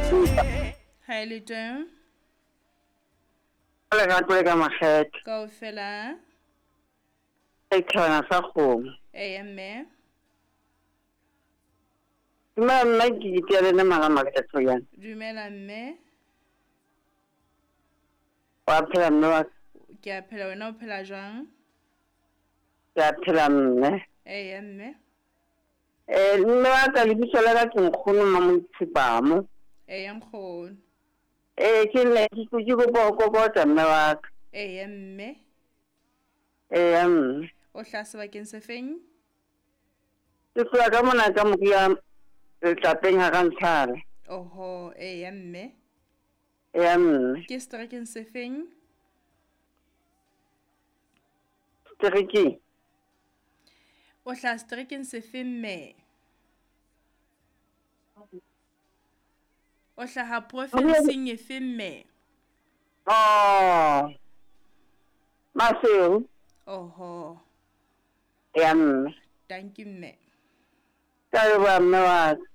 Ha e le teng. Ka lerato le ka makgethe. Kaofela. Setjhaba sa kgomo. Eya mme. Dumela mme ke itea le nna mara Thoyana. Dumela mme. Wa phela mme wa ka? Ke a phela wena o phela jwang? Ke a phela mme. Eya mme. Eh mme wa ka lebitso la ka ke nkgono Mamoitshepamo. Eya nkgono. Eh ke ne ke ke kopa ho kokota mme wa ka. Eya mme. Eya mme. O hlaha sebakeng se feng? Ke tloha ka mona ka moria letlapeng ha Rantshala. Oho, eya mme. Eya mme. Ke seterekeng se feng? Seterekeng. O hlaha seterekeng se feng mme? O hlaha profenseng efe mme? Oh. Maseru. Oho. Eya mme. Dankie mme. Ka leboha mme wa ka.